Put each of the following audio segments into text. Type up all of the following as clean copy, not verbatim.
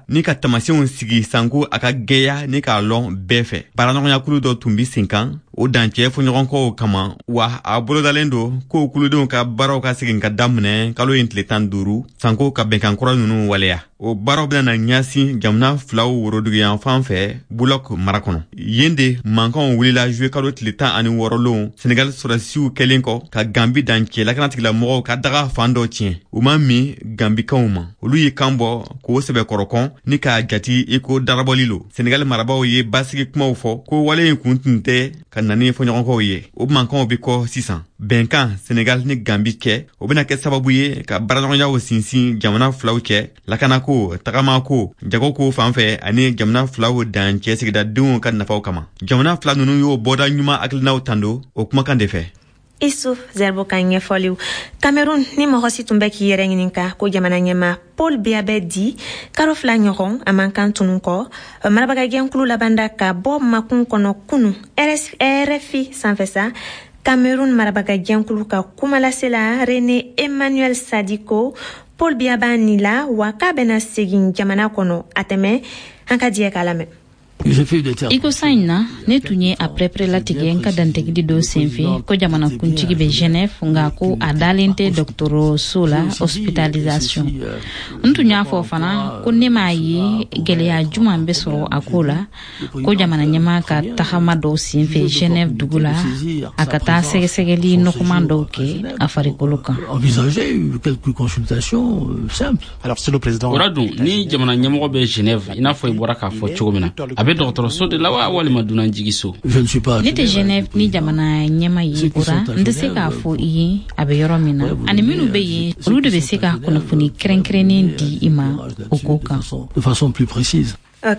Ni ka taamasiyɛnw sigi sanko a ka gwɛya ni k'a lɔn bɛɛ fɛ. Baaraɲɔgɔnyakulu dɔ tun bi sen kan o dancɛ fɔɲɔgɔnkɔw kama, wa a bolodalen don k'o kuludenw ka baaraw ka segin ka daminɛ kalo in tile 15, sanko ka bɛnkan kura ninnu waleya. O baaraw bɛna ɲɛsin jamana filaw woroduguyanfan fɛ, Bulɔk mara kɔnɔ. Yen de mankanw wulila juwe kalo tile 16 lon, Senegal sɔrɔdasiw kɛlen kɔ ka Gambi dancɛ lakanatigilamɔgɔw ka daga fan dɔ tiɲɛ. U ma min Gambikaw ma, olu ye kan bɔ k'o sɛbɛkɔrɔ kɔn ni k'a jati i ko darabɔli lo. Senegal marabaw ye basigi kumaw fɔ ko wale in kun tun tɛ ka na ni fɔɲɔgɔnkɔw ye. O mankanw be kɔ sisan. Bɛnkan Senegal ni Gambi cɛ, o bɛna kɛ sababu ye ka baaraɲɔgɔnyaw sinsin jamana filaw cɛ, lakanako, tagamako, jagoko fan fɛ, ani jamana filaw dancɛ sigidadenw ka nafaw kama. Jamana fila ninnu y'o bɔda ɲuman hakilinaw tando o kumakan de fɛ. Isuf Zerbo ka ɲɛfɔliw. Cameroun, ni mɔgɔ si tun bɛ k'i yɛrɛ ɲininka ko jamana ɲɛma Paul Biya bɛ di, karo 2 ɲɔgɔn a man kan tunu kɔ, marabagajɛnkulu labanda ka bɔ makun kɔnɔ kunu RFI sanfɛ sa. Cameroun marabagajɛnkulu ka kumalasela René Emmanuel Sadiko, Paul Biya b'a ni la wa k'a bɛna segin jamana kɔnɔ a tɛmɛ. An ka diɲɛ k'a lamɛn. I ko san in na, ne tun ye a pɛrɛpɛrɛ latigɛ n ka dantigɛli dɔ senfɛ ko jamana kuntigi bɛ Genève, nka ko a dalen tɛ dɔgɔtɔrɔso la, hospitalisation. N tun y'a fɔ fana ko ne m'a ye gɛlɛya juman bɛ sɔrɔ a ko la, ko jamana ɲɛmaa ka tagama dɔw senfɛ Genève dugu la, a ka taa sɛgɛsɛgɛli nɔgɔman dɔw kɛ a farikolo kan. O la dun, ni jamana ɲɛmɔgɔ bɛ Genève, i n'a fɔ i bɔra k'a fɔ cogo min na, a bɛ dɔgɔtɔrɔso de la wa walima dunanjigiso? Ne tɛ Genève ni jamana ɲɛma ye, o la n tɛ se k'a fɔ i ye a bɛ yɔrɔ min na, ani minnu bɛ yen, olu de bɛ se ka kunnafoni kɛrɛnkɛrɛnnen di i ma o ko kan.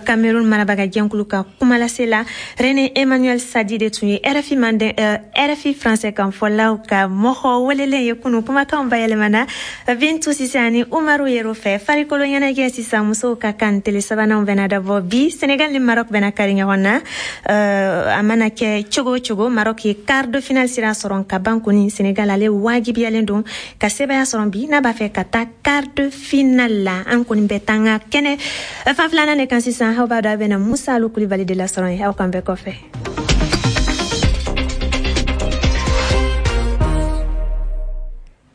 Cameroun marabagajɛnkulu ka kumalasela René Emmanuel Sadi de tun ye RFI manden, RFI français kan fɔlaw ka mɔgɔ welelen ye kunu. Kumakanw bayɛlɛmana Bintu Sise ani Umaru Yero fɛ. Farikolo ɲɛnajɛ sisan, musow ka kan tele sabananw bɛna dabɔ bi. Senegal ni Maroc bɛna kari ɲɔgɔn na. A mana kɛ cogo o cogo, Maroc ye quart de finale sira sɔrɔ ka ban kɔni. Senegal ale wajibiyalen don ka sebaya sɔrɔ bi n'a b'a fɛ ka taa quart de finale la. An kɔni bɛ taa an ka kɛnɛ fan filanan de kan sisan. Aw b'a dɔn a bɛna Musa Alu Kulibali de lasɔrɔ yen. Aw kan bɛɛ kɔfɛ.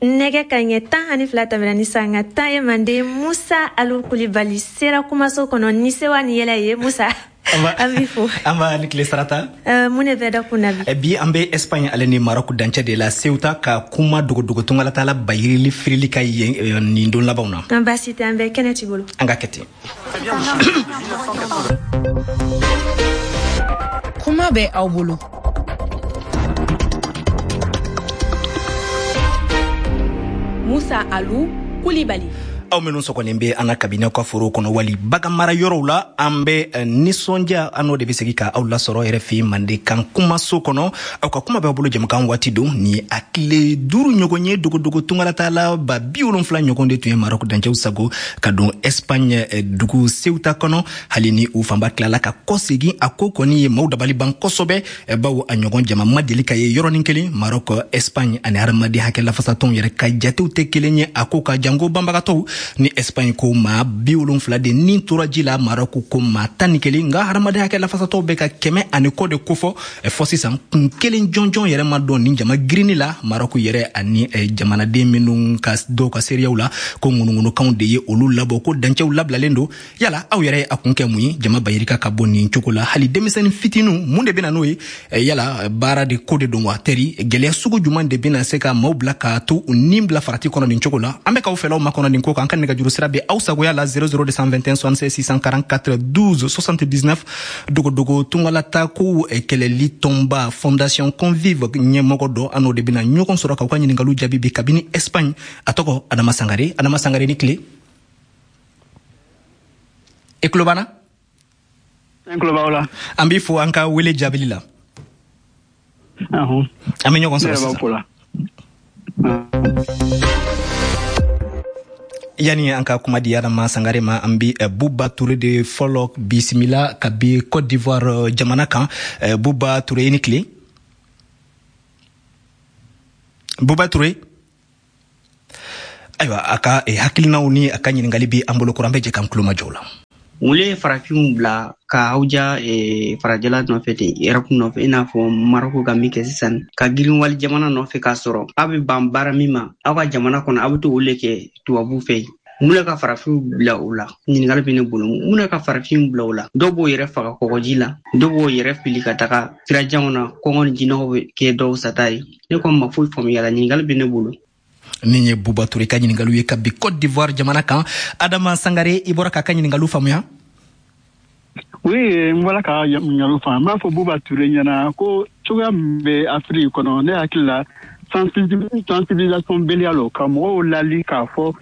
Nɛgɛ ka ɲɛ 12 tɛmɛna ni sanga 10 ye. Manden Musa Alu Kulibali sera kumaso kɔnɔ ni sewa ni yɛlɛ ye. Musa, an b'i fo. An b'a ni tile sarata. Mun de bɛ da kun na bi? Bi an bɛ Espagne ale ni Maroc dancɛ de la, Ceuta, ka kuma dogodogo tungalatala bayirili firili ka yen nin don labanw na. An baasi tɛ, an bɛ kɛnɛ t'i bolo. An ka kɛ ten. Kuma bɛ aw bolo. Musa Alu Kulibali. Aw minnu sɔgɔlen bɛ an na kabini aw ka forow kɔnɔ wali bagan mara yɔrɔw la, an bɛ nisɔndiya, an n'o de bɛ segin ka aw lasɔrɔ RFI Mandenkan kumaso kɔnɔ. Aw ka kuma b'aw bolo jɛmukan waati don. Ni a tile 5 ɲɔgɔn ye, dogodogo tungalatala 70 ɲɔgɔn de tun ye Maroc dancɛw sago ka don Espagne dugu Ceuta kɔnɔ. Hali ni u fanba tilala ka kɔsegin, a ko kɔni ye maaw dabali ban kosɛbɛ, bawo a ɲɔgɔn jama ma deli ka ye yɔrɔnin kelen. Maroc, Espagne ani hadamaden hakɛ lafasatɔnw yɛrɛ ka jatew tɛ kelen ye a ko ka janko banbagatɔw. Ni Espagne ko maa 70 de ni tora ji la, Maroc ko maa 11, nka hadamaden hakɛ lafasatɔw bɛ ka kɛmɛ ani kɔ de kofɔ. Fɔ sisan kun kelen jɔnjɔn yɛrɛ ma dɔn nin jama girinni la. Maroc yɛrɛ ani jamanaden minnu ka dɔw ka seereyaw la ko ŋunuŋunukanw de ye olu labɔ, ko dancɛw labilalen don. Yala aw yɛrɛ a kun kɛ mun ye jama bayirika ka bɔ nin cogo la, hali denmisɛnnin fitininw? Mun de bɛna n'o ye? Yala baara de ko de don wa? Teri gɛlɛya sugu jumɛn de bɛna se ka maaw bila ka to u ni bila farati kɔnɔ nin cogo la? An bɛ k'aw fɛlaw makɔnɔ nin ko kan. An ka nɛgɛjuru sira bɛ aw sagoya la 00 221 76 644 12 79. Dogodogo tungalata kow kɛlɛli tɔnba Fondation Convive ɲɛmɔgɔ dɔ, an n'o de bɛna ɲɔgɔn sɔrɔ k'aw ka ɲininkaliw jaabi bi kabini Espagne. A tɔgɔ Adama Sangare. Adama Sangare, ni tile. E tulo b'an na? N tulo b'aw la. An b'i fo an ka wele jaabili la. An bɛ ɲɔgɔn sɔrɔ sisan. Yani an ka kuma di Adama Sangare ma, an bi Buba Ture de fɔlɔ bisimila ka bi Côte d'Ivoire jamana kan. Buba Ture, i ni tile. Buba Ture. Ayiwa, a ka hakilinaw ni a ka ɲininkali bi an bolo kɔrɔ, an bɛ jɛ k'an tulomajɔ o la. Mun le ye farafinw bila ka aw ja farajɛla nɔfɛ ten, Europe nɔfɛ, i n'a fɔ Maroko ka min kɛ sisan, ka girin wali jamana nɔfɛ, k'a sɔrɔ aw bɛ ban baara min ma aw ka jamana kɔnɔ, aw bɛ to o le kɛ tubabu fɛ yen? Mun le ka farafinw bila o la? Ɲininkali bɛ ne bolo, mun le ka farafinw bila o la? Dɔw b'o yɛrɛ faga kɔgɔji la, dɔw b'o yɛrɛ fili ka taga sirajanw na, kɔngɔ ni jinɔgɔ bɛ kɛ dɔw sata ye. Ne kɔni ma foyi faamuya la, ɲininkali bɛ ne bolo. Nin ye Buba Ture ka ɲininkaliw ye ka bi Côte d'Ivoire jamana kan. Adama Sangare, i bɔra k'a ka ɲininkaliw faamuya? Oui, n bɔra ka ɲininkaliw faamu. N b'a fɔ Buba Ture ɲɛna ko cogoya min bɛ Afiriki kɔnɔ, ne hakili la, sensibilisation beliya lo, ka mɔgɔw lali k'a fɔ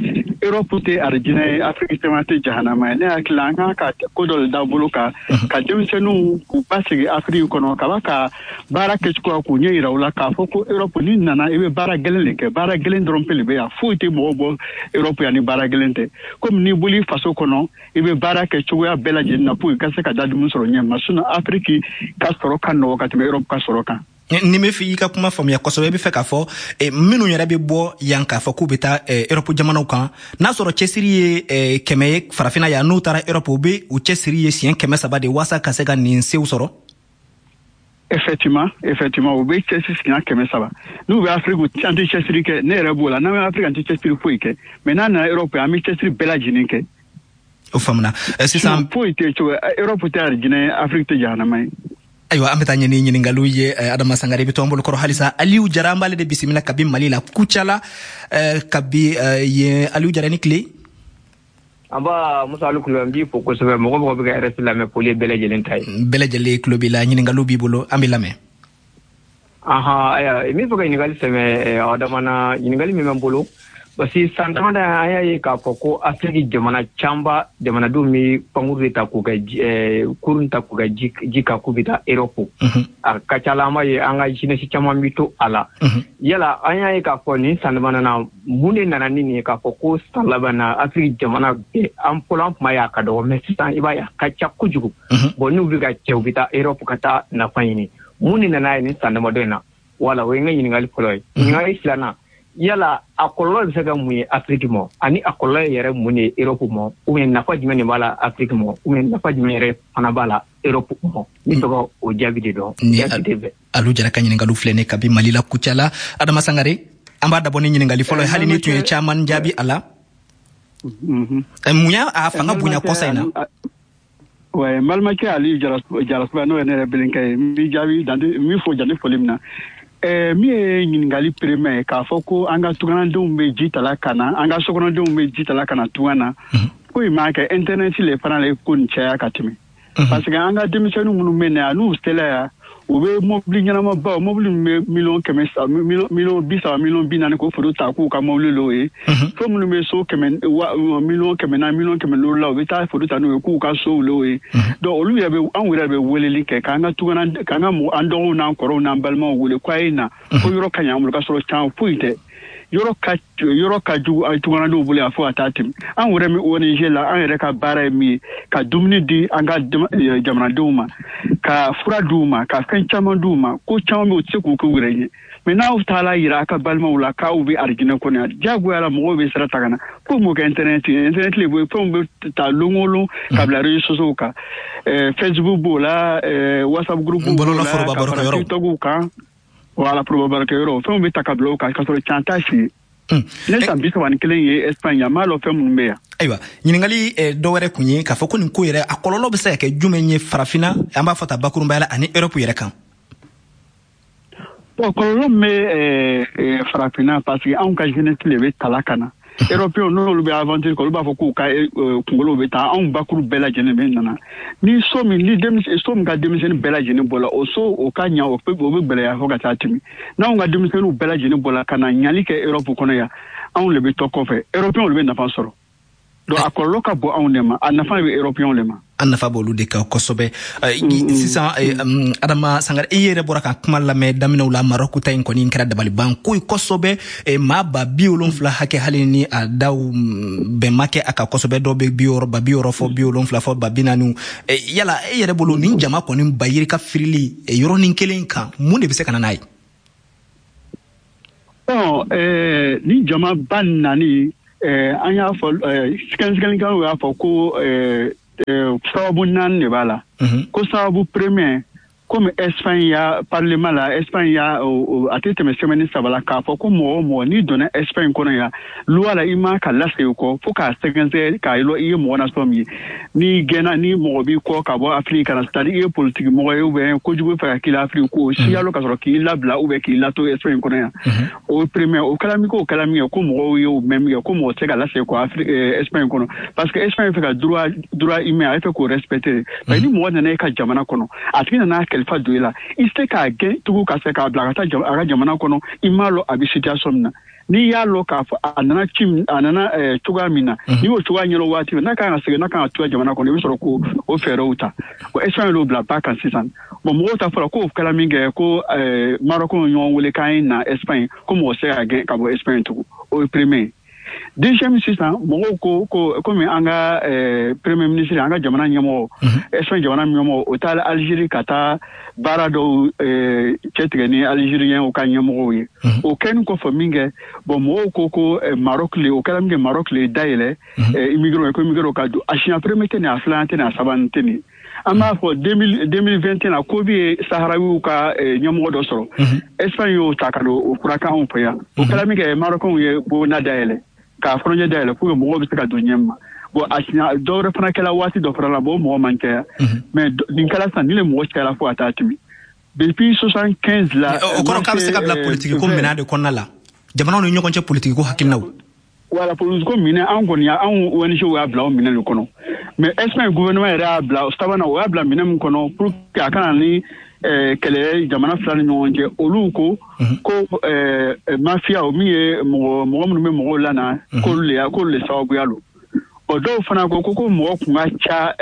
Europe tɛ arijinɛ ye, Afiriki caman tɛ jahanama ye. Ne hakili la, an kan ka ko dɔ de da bolo kan ka denmisɛnninw k'u basigi Afiriki kɔnɔ ka ba ka baara kɛcogoya k'u ɲɛ yira u la, k'a fɔ ko Europe n'i nana, i bɛ baara gɛlɛn de kɛ. Baara gɛlɛn dɔrɔn pe le bɛ yan, foyi tɛ mɔgɔ bɔ Europe yan ni baara gɛlɛn tɛ. Komi n'i bɔl'i faso kɔnɔ, i bɛ baara kɛ cogoya bɛɛ lajɛlen na pour i ka se ka da dumuni sɔrɔ ɲɛ ma. Sinon, Afiriki ka sɔrɔ ka nɔgɔ ka tɛmɛ Europe ka sɔrɔ kan. Ni bɛ fɛ i ka kuma faamuya kosɛbɛ, i bɛ fɛ k'a fɔ minnu yɛrɛ bɛ bɔ yan k'a fɔ k'u bɛ taa Europe jamanaw kan, n'a sɔrɔ cɛsiri ye 100 ye farafinna yan, n'u taara Europe, u bɛ u cɛsiri ye siɲɛ 300 de waasa ka se ka nin sew sɔrɔ. Effectivement, u bɛ cɛsiri siɲɛ 300. N'u bɛ Afiriki, an tɛ cɛsiri kɛ. Ne yɛrɛ b'o la, n'an bɛ Afiriki, an tɛ cɛsiri foyi kɛ, mais n'a nana Europe, an bɛ cɛsiri bɛɛ lajɛlen kɛ. O faamuna sisan. Foyi tɛ cogo, Europe tɛ arijinɛ ye, Afiriki tɛ jahanama ye. Ayiwa, an bɛ taa ɲɛ ni ɲininkaliw ye. Adama Sangare, i bɛ to an bolo kɔrɔ halisa. Aliyu Jara, an b'ale de bisimila kabi Mali la, Kucala, kabi yen. Aliyu Jara, ni tile. An b'a Musa Ali Kulubali, n b'i fo kosɛbɛ. Mɔgɔ mɔgɔ bɛ ka RFI lamɛn, foli ye bɛɛ lajɛlen ta ye. Bɛɛ lajɛlen tulo b'i la, ɲininkaliw b'i bolo, an b'i lamɛn. Ahan, ayiwa, n bɛ fɛ ka ɲininkali sɛmɛ Adama na. Ɲininkali min bɛ n bolo, parce que san damadɔ an y'a ye k'a fɔ ko Afiriki jamana camanba jamanadenw bɛ pankuru de ta k'u kɛ kurun ta k'u kɛ ji kan k'u bɛ taa Europe. A ka ca la, an b'a ye an ka jeunesse caman bɛ to a la. Yala an y'a ye k'a fɔ nin san damadɔ na, mun de nana ni nin ye k'a fɔ ko san laban na Afiriki jamana bɛɛ, an fɔlɔ an tun b'a ye a ka dɔgɔ, mais sisan i b'a ye a ka ca kojugu. Bon, n'u bɛ ka cɛ, u bɛ taa Europe ka taa nafa ɲini. Mun de nana ye nin san damadɔ in na? Wala, o ye n ka ɲininkali fɔlɔ ye. Ɲininkali filanan, yala a kɔlɔlɔ bɛ se ka mun ye Afiriki ma, ani a kɔlɔlɔ yɛrɛ mun de ye Europe ma, ou bien nafa jumɛn de b'a la Afiriki ma, ou bien nafa jumɛn yɛrɛ fana b'a la Europe ma? N bɛ fɛ ka o jaabi de dɔn. Ni Alu Jara ka ɲininkaliw filɛ ne kabi Mali la, Kucala. Adama Sangare, an b'a dabɔ ni ɲininkali fɔlɔ ye, hali ni tun ye caman jaabi a la. Mun y'a a fanga bonya kɔsa in na? Ouais, n balimakɛ Ali Jarasuba, n'o ye ne yɛrɛ belenkɛ ye, n b'i jaabi, n b'i fo jandi foli min na. Min ye ɲininkali premier ye, k'a fɔ ko an ka tunganadenw bɛ ji tala ka na, an ka sokɔnɔdenw bɛ ji tala ka na tunga na, ko in m'a kɛ internet le fana le ko nin caya ka tɛmɛ. Parce que an ka denmisɛnnin minnu bɛ na yan, n'u sela yan, u bɛ mobili ɲɛnamabaw, mobili min bɛ miliyɔn 100, miliyɔn 30, miliyɔn 40, k'o photo ta k'u ka mobili l'o ye. Fo minnu bɛ so kɛmɛ miliyɔn 400, miliyɔn 500 la, u bɛ taa photo ta n'o ye k'u ka sow l'o ye. Donc olu yɛrɛ bɛ, anw yɛrɛ bɛ weleli kɛ k'an ka tugana, k'an ka mɔgɔ, an dɔgɔw n'an kɔrɔw n'an balimaw wele k'a ye na, ko yɔrɔ ka ɲi an bolo, k'a sɔrɔ can foyi tɛ. Yɔrɔ ka jugu a tuganadenw bolo yan fo ka taa tɛmɛ. An yɛrɛ min ONG la, an yɛrɛ ka baara ye min ye, ka dumuni di an ka jamanadenw ma, ka fura d'u ma, ka fɛn caman d'u ma. Ko caman bɛ, u tɛ se k'u k'u yɛrɛ ɲɛ, mais n'aw taara yira a ka balimaw la k'aw bɛ arijinɛ kɔnɔ yan, diyagoya la mɔgɔw bɛ sira ta ka na ko m'o kɛ internet ye. Internet le bɛ fɛnw bɛ ta lon o lon ka bila réseaux sociaux kan, Facebook b'o la, WhatsApp groupe b'o la, ka fara TikTok kan. Wala, foroba baarakɛyɔrɔ, fɛnw bɛ ta ka bila o kan, k'a sɔrɔ can t'a si ye. Ne san 31 ye Espagne yan, n b'a lɔn fɛn minnu bɛ yan. Ayiwa, ɲininkali dɔ wɛrɛ kun ye k'a fɔ ko nin ko yɛrɛ, a kɔlɔlɔ bɛ se ka kɛ jumɛn ye farafinna, an b'a fɔ ta bakurunbaya la, ani Europe yɛrɛ kan? Bon, kɔlɔlɔ min bɛ farafinna, parce que anw ka jeunesse de bɛ tala ka na. Européens, n'olu bɛ aventure kɛ, olu b'a fɔ k'u ka kunkolo bɛ taa, anw bakuru bɛɛ lajɛlen bɛ nana ni so min, ni denmisɛn so min ka denmisɛnnin bɛɛ lajɛlen bɔla o so, o ka ɲa, o bɛ gɛlɛya fo ka taa tɛmɛ. N'anw ka denmisɛnninw bɛɛ lajɛlen bɔla ka na ɲali kɛ Europe kɔnɔ yan, anw de bɛ to kɔfɛ, Européens de bɛ nafa sɔrɔ. Donc a kɔlɔlɔ ka bon anw de ma, a nafa bɛ Européens de ma. A nafa b'olu de kan kosɛbɛ. Sisan, Adama Sangare, i yɛrɛ bɔra ka kuma lamɛn daminɛw la. Marɔku ta in kɔni kɛra dabaliban ko ye kosɛbɛ, maa 70,000 hakɛ, hali ni a daw bɛn ma kɛ a kan kosɛbɛ, dɔw bɛ 60, 60 fɔ, 70 fɔ, 40,000. Yala e yɛrɛ bolo, nin jama kɔni ba yirika firili yɔrɔnin kelen kan, mun de bɛ se ka na n'a ye? Bon, ni jama ba nani An y'a fɔ, sɛgɛsɛgɛlikɛlaw y'a fɔ ko sababu naani de b'a la. Ko sababu premier, komi Espagne ya parlement la, Espagne ya a tɛ tɛmɛ semaine 3 la k'a fɔ ko mɔgɔ o mɔgɔ n'i donna Espagne kɔnɔ yan, loi la, i ma ka lasegin kɔ fo k'a sɛgɛsɛgɛ k'a lɔn i ye mɔgɔ nasɔn min ye. N'i gɛnna, ni mɔgɔ b'i kɔ ka bɔ Afiriki ka na, c'est à dire i ye politique mɔgɔ ye ou bien kojugu fɛ ka k'i la Afiriki, k'o siyalo ka sɔrɔ k'i labila ou bien k'i lato Espagne kɔnɔ yan. O premier, o kɛra min k'o kɛra min ye, ko mɔgɔw ye o mɛn min kɛ, ko mɔgɔ tɛ se ka lasegin kɔ Afiriki, Espagne kɔnɔ, parce que Espagne fɛ ka droit humain, a bɛ fɛ k'o respecter. Parce que ni mɔgɔ nana e ka jamana kɔnɔ, a tigi nana kalifa don i la, i tɛ se k'a gɛn tugun ka se k'a bila ka taa a ka jamana kɔnɔ, i m'a lɔn a bɛ situation min na. N'i y'a lɔn k'a fɔ a nana ci, a nana cogoya min na, n'i y'o cogoya ɲɛdɔn waati min n'a kan ka segin, n'a kan ka to jamana kɔnɔ, i bɛ sɔrɔ k'o o fɛɛrɛw ta. Bon, Espagne y'o bila ba kan sisan. Bon, mɔgɔw ta fɔra k'o kɛra min kɛ, ko Maroc ye ɲɔgɔn wele k'an ye na Espagne, ko mɔgɔ tɛ se ka gɛn ka bɔ Espagne tugun. O ye premier ye. Deuxième, sisan mɔgɔw ko komi an ka premier ministre, an ka jamana ɲɛmɔgɔ, Espagne jamana ɲɛmɔgɔ, o taara Algérie ka taa baara dɔw cɛtigɛ ni Algériens ka ɲɛmɔgɔw ye. O kɛlen kɔfɛ min kɛ, bon, mɔgɔw ko Maroc le, o kɛra min kɛ, Maroc le dayɛlɛ immigré, ko immigré ka don. A siɲɛ premier tɛ nin, a filanan tɛ nin, a sabanan tɛ nin. An b'a fɔ 2021 na, ko bɛ ye Saharawiw ka ɲɛmɔgɔ dɔ sɔrɔ, Espagne y'o ta ka don o furakɛ anw fɛ yan. O kɛra min kɛ, Marocains ye bonda dayɛlɛ, k'a frontière dayɛlɛ pour que mɔgɔw bɛ se ka don ɲɛ ma. Bon, a siɲɛ dɔwɛrɛ fana kɛra waati dɔ fana la, bon, mɔgɔ man caya, mais nin kɛra sisan, ni le mɔgɔ cayara fo ka taa tɛmɛ depuis 75 la. O kɔrɔ k'a bɛ se ka bila politiki ko minɛn de kɔnɔna la, jamanaw ni ɲɔgɔn cɛ politiki ko hakilinaw. Voilà, politiki ko minɛn, an kɔni, anw ONG y'a bila o minɛn de kɔnɔ. Mais Espagne gouvernement yɛrɛ y'a bila sabanan, o y'a bila minɛn min kɔnɔ pour que a kana ni kɛlɛ jamana fila ni ɲɔgɔn cɛ, olu ko mafia, o min ye mɔgɔ minnu bɛ mɔgɔw lana, k'olu le sababuya don. Bon, dɔw fana ko mɔgɔ kun ka ca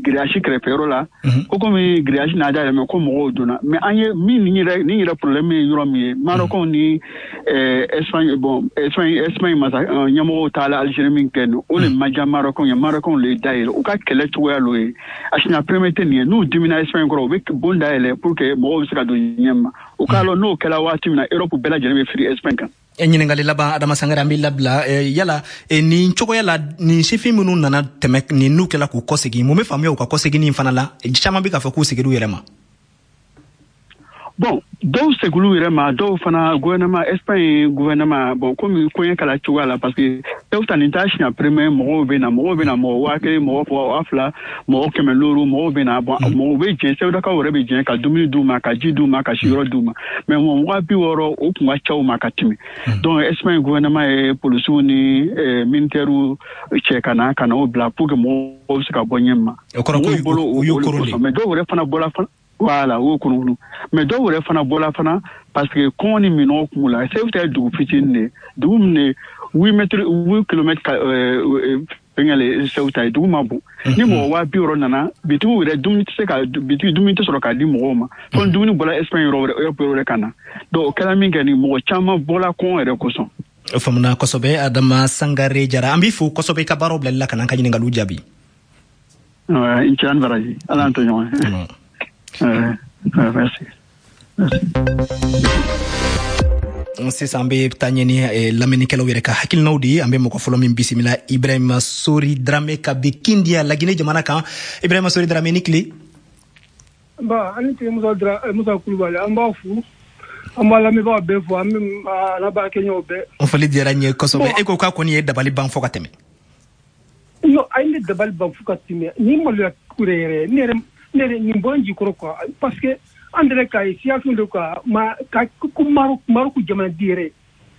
grillage kɛrɛfɛyɔrɔ la, ko komi grillage n'a dayɛlɛ, ko mɔgɔw donna. Mais an ye min nin yɛrɛ problème ye yɔrɔ min ye, Marocains ni Espagne, bon, Espagne masa ɲɛmɔgɔw taala Algérie min kɛ nin, o le ma diya Marocains ye. Marocains le dayɛlɛ, u ka kɛlɛ cogoya l'o ye. A siɲɛ premier tɛ nin ye. N'u dimina Espagne kɔrɔ, u bɛ bon dayɛlɛ pour que mɔgɔw bɛ se ka don ɲɛ ma. U k'a lɔn n'o kɛra waati min na, Europe bɛɛ lajɛlen bɛ firi Espagne kan. Ɲininkali laban, Adama Sangare, an b'i labila. Yala nin cogoya la, nin sifin minnu nana tɛmɛ nin, n'u kɛla k'u kɔsegin, mun bɛ faamuya u ka kɔseginni fana la? Caman bɛ k'a fɔ k'u seginna u yɛrɛ ma. Bon, dɔw seginna u yɛrɛ ma, dɔw fana gouvernement, Espagne gouvernement, bon, komi koɲɛ kɛra cogoya la, parce que dɔw ta nin t'a siɲɛ premier, mɔgɔw bɛ na, mɔgɔw bɛ na, mɔgɔ 1000, mɔgɔ 2000, mɔgɔ 500, mɔgɔw bɛ na. Bon, mɔgɔw bɛ jɛn, Sewudakaw yɛrɛ bɛ jɛn ka dumuni d'u ma, ka ji d'u ma, ka siyɔrɔ d'u ma, mais mɔgɔ 60, o kun ka ca u ma ka tɛmɛ. Donc Espagne gouvernement ye polisiw ni militaires cɛ ka na o bila pour que mɔgɔw bɛ se ka bɔ ɲɛ ma. O kɔrɔ ko u y'u koron de. Mais dɔw yɛrɛ fana bɔra fana. Voilà, o kɔnɔ, mais dɔw yɛrɛ fana bɔra fana parce que kɔngɔ ni minɔgɔ kun b'u la. Segu ye dugu fitinin de ye, dugu min de 8 mètres, 8 kilomètres fɛngɛ le Segu ta ye, dugu ma bon. Ni mɔgɔ 60 000 nana, bitigiw yɛrɛ dumuni tɛ se ka bitigi, dumuni tɛ sɔrɔ k'a di mɔgɔw ma, fo ni dumuni bɔra Espagne yɔrɔ wɛrɛ, yɔrɔ wɛrɛ ka na. Donc o kɛra min kɛ, ni mɔgɔ caman bɔra kɔngɔ yɛrɛ kosɔn. O faamuna kosɛbɛ. Adama Sangare Jara, an b'i fo kosɛbɛ i ka baaraw bilali la ka n'an ka ɲininkaliw jaabi. I ni ce, an baraji, Ala y'an to ɲɔgɔn ye. Merci. Sisan an bɛ taa ɲɛ ni lamɛnnikɛlaw yɛrɛ ka hakilinaw de ye. An bɛ mɔgɔ fɔlɔ min bisimila, Ibrahima Sori Drame ka bi Kindiya, Laginɛ jamana kan. Ibrahima Sori Drame, ni tile. Ba ani tile, Musa Musa Kulubali, an b'a fo, an b'a lamɛnbagaw bɛɛ fo, an bɛ ala baarakɛɲɔgɔnw bɛɛ. O foli diyara n ye kosɛbɛ. E ko k'a kɔni ye dabali ban fɔ ka tɛmɛ. Non, a ye ne dabali ban fo ka tɛmɛ. Nin maloya ko de yɛrɛ, ne yɛrɛ nin bɔra n jikɔrɔ quoi, parce que an yɛrɛ k'a ye situation de quoi, ma ka ko Maroc jamanaden yɛrɛ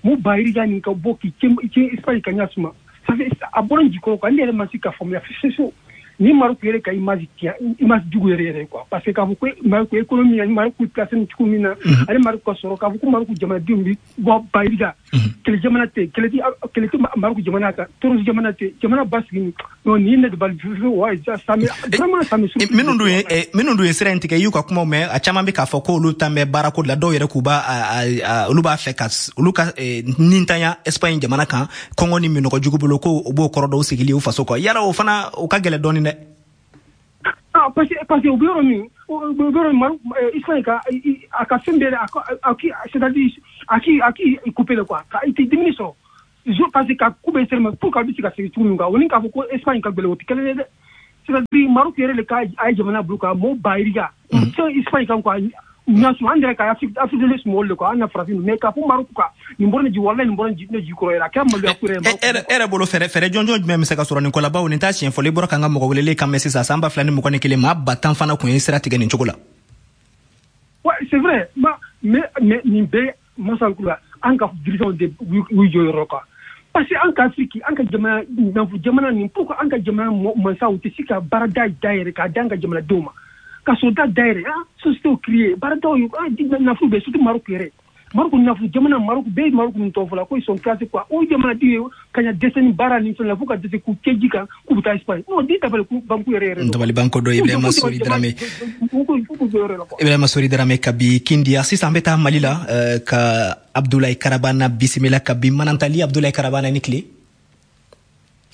mun ba yirika nin ka bɔ k'i cɛ Espagne ka ɲɛ suma, ça fait a bɔra n jikɔrɔ quoi. Ne yɛrɛ ma se ka faamuya fiyewu. Ni Maroc yɛrɛ ka image tiɲɛ, image jugu yɛrɛ yɛrɛ quoi, parce que k'a fɔ ko Maroc économie ani Maroc placé cogo min na, ani Maroc ka sɔrɔ, k'a fɔ ko Maroc jamanadenw bɛ bɔ ba yirika, kɛlɛ jamana tɛ, kɛlɛ tɛ Maroc jamana kan, terroriste jamana tɛ, jamana basigi. Non, nin ne de bali fiyewu wa, ça me vraiment, ça me Minnu dun ye sira in tigɛ, i y'u ka kumaw mɛn, a caman bɛ k'a fɔ k'olu tan bɛ baarako de la, dɔw yɛrɛ k'u b'a olu b'a fɛ ka olu ka nintanya Espagne jamana kan, kɔngɔ ni minɔgɔ jugu bolo, ko o b'o kɔrɔ dɔw sigili u faso kɔ. Yala o fana o ka gɛlɛn dɔɔni dɛ. Ah, parce que u bɛ yɔrɔ min, u bɛ yɔrɔ min, Maroc, Espagne ka a ka fɛn bɛɛ, a k'i, c'est à dire a k'i coupé le quoi, ka i tɛ dumuni sɔrɔ. Parce que ka ku bɛ sɛrɛmɛ pour que a bɛ se ka segin cogo min kan, o ni k'a fɔ ko Espagne ka gɛlɛn, o tɛ kelen ye dɛ. C'est-à-dire Maroc yɛrɛ de ka a ye jamana bila ka mɔgɔw ba yirika fɛn Espagne kan quoi. Ɲasu an yɛrɛ ka Afrique de l'Est mɔgɔw de quoi, an na farafin, mais k'a fɔ Maroc kan, nin bɔra ne ji, walahi nin bɔra ne ji kɔrɔ yɛrɛ, a kɛra maloya ko yɛrɛ. E yɛrɛ bolo, fɛɛrɛ jɔnjɔn jumɛn bɛ se ka sɔrɔ nin ko la? Bawo nin t'a siɲɛ fɔlɔ i bɔra k'an ka mɔgɔ welelen kan mɛn sisan, san 2021, maa 10 000 fana kun ye sira tigɛ nin cogo la. Ouais, c'est vrai, mais nin bɛɛ masakula an ka dirigeants de y'u jɔyɔrɔ quoi. Parce que an ka Afrique, an ka jamana nafolo jamana nin, pourquoi an ka jamana mansaw tɛ se ka baarada dayɛlɛ k'a di an ka jamanadenw ma, ka sɔrɔda dayɛlɛ, ah, société créer, baaradaw ye, ah, nafolo bɛ, surtout Maroc yɛrɛ. Maroc nafolo jamana, Maroc bɛɛ ye Maroc min tɔgɔ fɔ la ko ils sont classés quoi. O jamanaden ye ka ɲa dɛsɛ ni baara ni fɛn la, fo ka dɛsɛ k'u cɛ ji kan k'u bɛ taa Espagne. Non, den dabali banku yɛrɛ yɛrɛ. Dabali banko dɔ. Ibrahima Sori Dramé, Ibrahima Sori Dramé kabi Kindiya. Sisan an bɛ taa Mali la ka Abdoulaye Karabana bisimila kabi Manantali. Abdoulaye Karabana, ni tile.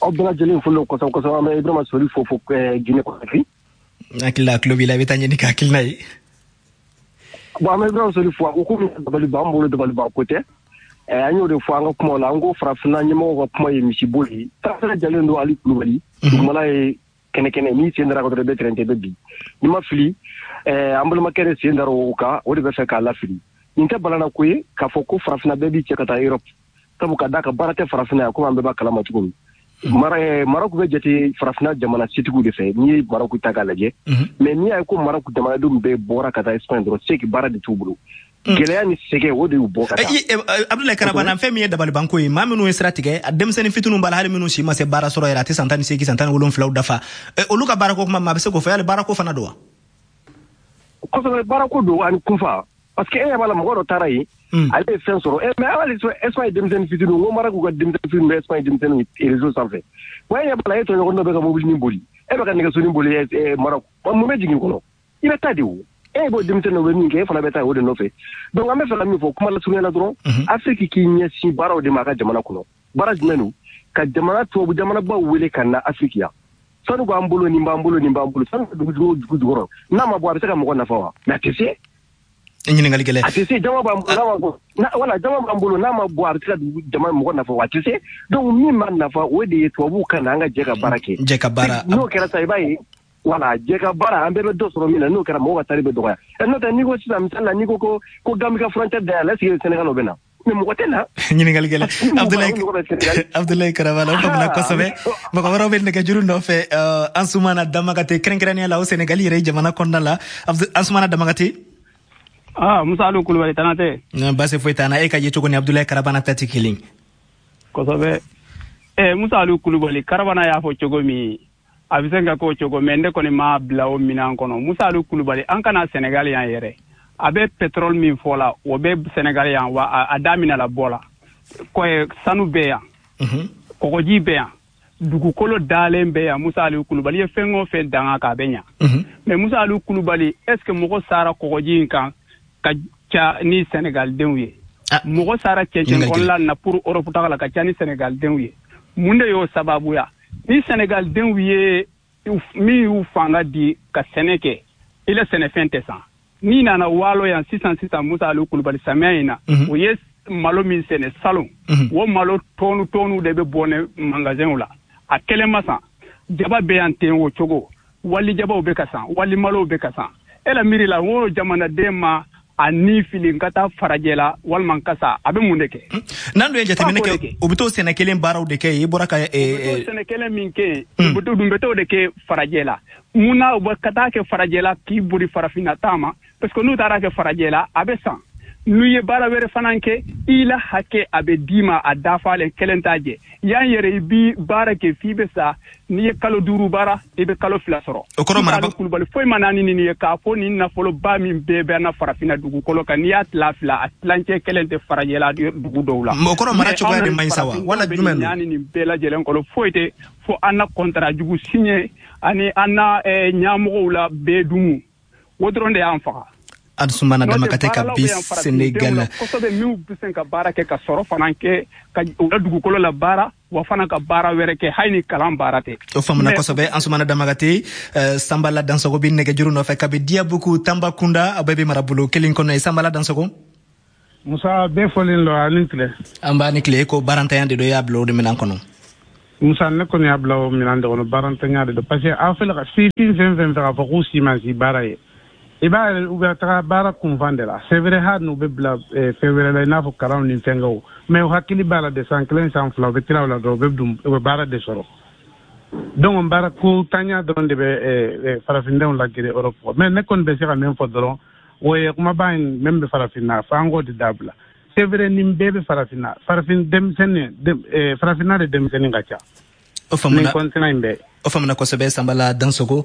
Aw bɛɛ lajɛlen folo kosɛbɛ kosɛbɛ. An bɛ Ibrahima Sori fo Guinée Conakry. Hakili la a tulo b'i la, i bɛ taa ɲɛ ka hakilina ye. Bon, an bɛ Ibrahima Sori fo. A ko ko dabali b'an bolo, dabali ban ko tɛ. An y'o de fɔ an ka kumaw la, an ko farafinna ɲɛmɔgɔw ka kuma ye misibo ye. Taasira jalen don. Ali Kulubali, dugumala ye kɛnɛ kɛnɛ, n'i sen dara ka dɔrɔn i bɛ tɛrɛntɛ, i bɛ bin. N'i ma fili, an balimakɛ de sen dara o kan, o de bɛ fɛ k'a lafili. Nin tɛ balana ko ye k'a fɔ ko farafinna bɛɛ b'i cɛ ka taa Europe, sabu ka d'a kan baara tɛ farafinna yan, komi an bɛɛ b'a kalama cogo min. Maroc bɛ jate farafinna jamana setigiw de fɛ, n'i ye Maroc ta k'a lajɛ. Mais n'i y'a ye ko Maroc jamanadenw bɛɛ bɔra ka taa Espagne dɔrɔn, c'est que baara de t'u bolo. Gɛlɛya ni sɛgɛn, o de y'u bɔ ka taa. Abdoulaye Karabana, fɛn min ye dabalibanko ye, maa minnu ye sira tigɛ, a denmisɛnnin fitininw b'a la, hali minnu si ma se baara sɔrɔ yɛrɛ, a tɛ san 18, san 17 dafa. Olu ka baarako kuma, maa bɛ se k'o fɔ, yali baarako fana don wa? Kosɛbɛ, baarako don ani kunfa, parce que e ɲɛ b'a la, mɔgɔ dɔ taara yen, ale ye fɛn sɔrɔ. Mais hali Espagne denmisɛnnin fitininw, n ko Maroc ka denmisɛnnin fitininw bɛ Espagne denmisɛnninw réseau sanfɛ wa. E ɲɛ b'a la, e tɔɲɔgɔn dɔ bɛ ka mobilinin boli, e bɛ ka nɛgɛsonin boli Maroc, mun bɛ jigin kɔnɔ? I bɛ taa de. O e b'o denmisɛnninw bɛ min kɛ, e fana bɛ taa o de nɔfɛ. Donc an bɛ fɛ ka min fɔ kuma lasurunya la dɔrɔn, Afrique k'i ɲɛsin baaraw de ma a ka jamana kɔnɔ. Baara jumɛn don? Ka jamana tubabu jamanabaw wele ka na Afrique yan. Sanu b'an bolo, nin b'an bolo, nin b'an bolo, sanu bɛ dugu dugu jukɔrɔ, n'a ma bɔ, a bɛ se ka mɔgɔ nafa wa? Mais a tɛ se. Ɲininkali gɛlɛn. A tɛ se. Jama b'an bolo, n'a ma bɔ, wala jama b'an bolo, n'a ma bɔ, a bɛ se ka dugu jama mɔgɔ nafa wa? A tɛ se. Donc min b'a nafa, o de ye tubabuw ka na, an ka jɛ ka baara kɛ. Jɛ ka baara. N'o kɛra sa, i b'a ye, wala jɛ ka baara, an bɛɛ bɛ dɔ sɔrɔ min na. N'o kɛra, mɔgɔw ka tari bɛ dɔgɔya. N'o tɛ, n'i ko sisan, misali la, n'i ko ko Gambie ka frontière dayɛlɛ, est ce que Sénégal o bɛ na? Mais mɔgɔ tɛ na. Ɲininkali gɛlɛn, Abdoulaye Karabala, o faamuna kosɛbɛ. Mɔgɔ wɛrɛw bɛ nɛgɛjuru nɔfɛ. Ansumana Damakate, kɛrɛnkɛrɛnnenya la o Sénégal yɛrɛ jamana kɔnɔna la. Ansumana Damakate. Ah, Musa Alu Kulubali, tana tɛ. Baasi foyi t'an na. E ka ye cogo ni Abdoulaye Karabana ta tɛ kelen. Kosɛbɛ. Musa Alu Kulubali, Karabana y'a fɔ cogo min, a bɛ se ka k'o cogo, mais ne kɔni m'a bila o minɛn kɔnɔ. Musa Alu Kulubali, an kana Sénégal yan yɛrɛ. A bɛ pétrole min fɔ la, o bɛ Sénégal yan wa, a daminɛ la bɔ la. Kɔye sanu bɛ yan. Kɔgɔji bɛ yan. Dugukolo dalen bɛ yan. Musa Alu Kulubali ye fɛn o fɛn danga k'a bɛ ɲa. Mais Musa Alu Kulubali, est ce que mɔgɔ sara kɔgɔji in kan ka ca ni Sénégal denw ye? Mɔgɔ sara cɛncɛn kɔnɔla na pour Europe taga la ka ca ni Sénégal denw ye. Mun de y'o sababuya? Ni Sénégal denw ye min y'u fanga di ka sɛnɛ kɛ, i la sɛnɛfɛn tɛ san. N'i nana waalo yan sisan sisan, Musa Alu Kulubali, samiya in na, o ye malo min sɛnɛ salon, o malo tɔnu tɔnu de bɛ bɔ ne magasinw la, a kelen ma san. Jaba bɛ yan ten o cogo, wali jabaw bɛ ka san, wali malow bɛ ka san. E la miiri la, n ko jamanaden ma a ni fili n ka taa farajɛ la walima n ka sa, a bɛ mun de kɛ? N'an dun ye jateminɛ kɛ, u bɛ t'o sɛnɛ kelen baaraw de kɛ yen, i bɔra ka. U bɛ t'o sɛnɛ kelen min kɛ yen, u dun bɛ t'o de kɛ farajɛ la. Mun na u bɛ ka taa kɛ farajɛ la k'i bori farafinna ta ma? Parce que n'u taara kɛ farajɛ la, a bɛ san. N'u ye baara wɛrɛ fana kɛ, i la hakɛ a bɛ d'i ma, a dafalen kelen t'a jɛ. Yan yɛrɛ, i bi baara kɛ f'i bɛ sa. N'i ye kalo 5 baara, i bɛ kalo 2 sɔrɔ. O kɔrɔ maraba Kulubali, foyi ma naani nin ye k'a fɔ nin nafoloba min bɛɛ bɛ na farafinna dugukolo kan, n'i y'a tila fila, a tilancɛ kelen tɛ farajɛla dugu dɔw la. O kɔrɔ mara cogoya de man ɲi sa wa, wala jumɛn don? Naani nin bɛɛ lajɛlen kɔnɔ, foyi tɛ fo an na kɔntara jugu signé ani an na ɲɛmɔgɔw la bɛɛ dumu, o dɔrɔn de y'an faga. Ansumana Damakate ka bi Sénégal. Kosɛbɛ, minnu bɛ se ka baara kɛ ka sɔrɔ fana kɛ, ka u ka dugukolo la baara wa fana ka baara wɛrɛ kɛ, hali ni kalan baara tɛ. O faamuna kosɛbɛ, Ansumana Damakate. Sanbala Dansogo bɛ nɛgɛjuru nɔfɛ kabi Diabuku, Tambacounda. A bɛɛ bɛ marabolo kelen kɔnɔ ye. Sanbala Dansogo. Musa, bɛɛ fɔlen don, a ni tile. An b'a ni tile. Ko baarantanya de don, i y'a bila o de minɛn kɔnɔ? Musa, ne kɔni y'a bila o minɛn de kɔnɔ, baarantanya de don, parce que aw filɛ ka sifin fɛn fɛn fɛ k'a fɔ k'u si ma si baara ye, i b'a ye u bɛ taga baara kunfan de la. C'est vrai, hali n'u bɛ bila fɛn wɛrɛ la, i n'a fɔ kalanw ni fɛnkɛw, mais u hakili b'a la de, san 1, san 2, u bɛ tila o la dɔrɔn, u bɛ dun, u bɛ baara de sɔrɔ. Donc baara ko tanya dɔrɔn de bɛ farafindenw lagere Europe. Mais ne kɔni bɛ se ka min fɔ dɔrɔn, o ye kumaba in min bɛ farafinna fo an k'o de dabila. C'est vrai, nin bɛɛ bɛ farafinna, farafin denmisɛnnin, farafinna de denmisɛnnin ka ca. O faamuna. Nin continent in bɛɛ. O faamuna kosɛbɛ. Sanbala Dansogo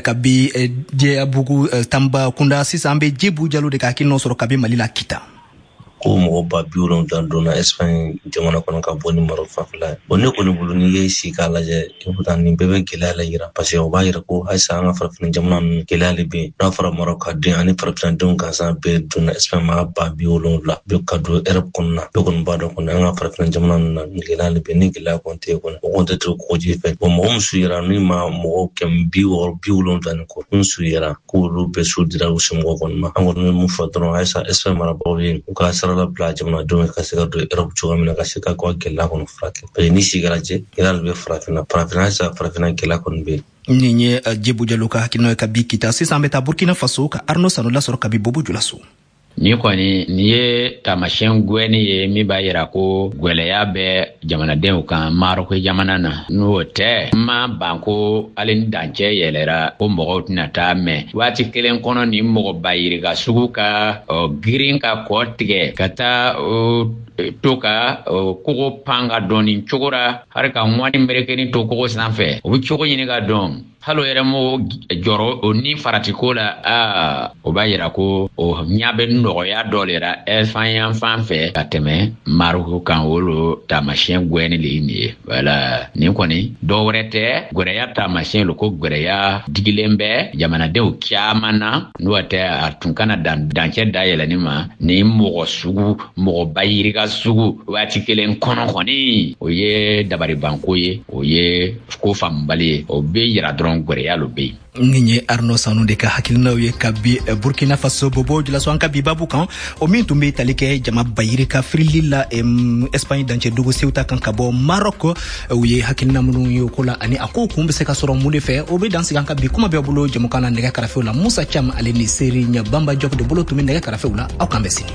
kabi Jɛbugu Tanba kunda. Sisan an bɛ Jebu Jalo de ka hakilinaw sɔrɔ kabi Mali la, Kita. Ko mɔgɔ 70,000 donna Espagne jamana kɔnɔ ka bɔ ni Maroc fanfɛla ye. Bon, ne kɔni bolo, n'i ye si k'a lajɛ, i nin bɛɛ bɛ gɛlɛya la yira, parce que o b'a yira ko halisa an ka farafin jamana ninnu, gɛlɛya de bɛ yen. N'a fɔra Maroc ka den ani farafinnadenw gansan bɛɛ donna Espagne, maa 70,000 bɛɛ ka don Europe kɔnɔna, bɛɛ kɔni b'a dɔn kɔni, an ka farafin jamana ninnu na, gɛlɛya de bɛ yen. Ni gɛlɛya kɔni tɛ yen kɔni, o kɔni tɛ to kɔgɔji fɛ. Bon, mɔgɔ min su yera ni ma mɔgɔ 660, 70 ni kɔ min su yera k'olu bɛɛ su dira u somɔgɔw kɔni ma. An kɔni bɛ mun fɔ dɔrɔn, halisa Espagne marabagaw ye, u ka sira labila jamanadenw ye ka se ka don Europe cogoya min na, ka se ka ka gɛlɛya kɔni furakɛ, parce que ni si kɛra jɛ, gɛlɛya de bɛ farafinna, farafinna halisa, farafinna gɛlɛya kɔni bɛ yen. Nin ye Jebu Jalo ka hakilinaw ye ka bi Kita. Sisan an bɛ taa Burkina Faso ka Arno Sanu lasɔrɔ kabi Bobo Julaso. Ni kɔni nin ye taamasiyɛn gwɛni ye min b'a yira ko gwɛlɛya bɛ jamanadenw kan Maroko jamana na. N'o tɛ, n ma ban ko hali ni dancɛ yɛlɛra ko mɔgɔw tɛna taa mɛn waati kelen kɔnɔ, ni mɔgɔ ba yirika sugu ka girin ka kɔ tigɛ ka taa to ka kogo pan ka dɔn nin cogo ra, hali ka ŋwani merekeni to kogo sanfɛ, o bɛ cogo ɲini ka dɔn, hali o yɛrɛ m'o jɔrɔ o ni faratiko la. Aa, o b'a yira ko o ɲa bɛ nɔgɔya dɔ le ra Espagne yan fan fɛ ka tɛmɛ Maroko kan. O lo taamasiyɛn gwɛni le ye nin ye. Wala nin kɔni dɔ wɛrɛ tɛ, gwɛrɛya taamasiyɛn lo, ko gwɛrɛya digilen bɛ jamanadenw caman na. N'o tɛ, a tun kana dan dancɛ dayɛlɛni ma ni mɔgɔ sugu, mɔgɔ ba yirika sugu waati kelen kɔnɔ kɔni, o ye dabaribanko ye, o ye ko faamubali ye. O bɛ yira dɔrɔn gwɛrɛya lo bɛ yen. Nin ye Arno Sanu de ka hakilinaw ye kabi Burkina Faso, Bobo Julaso, an ka bi babu kan, o min tun bɛ tali kɛ jama bayiri ka firili la Espagne dancɛ dugu Ceuta kan ka bɔ Maroc. U ye hakilina minnu ye o ko la ani a ko kun bɛ se ka sɔrɔ mun de fɛ, o bɛ dan sigi an ka bi kuma bɛɛ bolo jamukan na. Nɛgɛ karafew la, Musa Cam ale ni Serigne Bamba Diop de bolo tun bɛ nɛgɛ karafew la. Aw kan bɛ sini.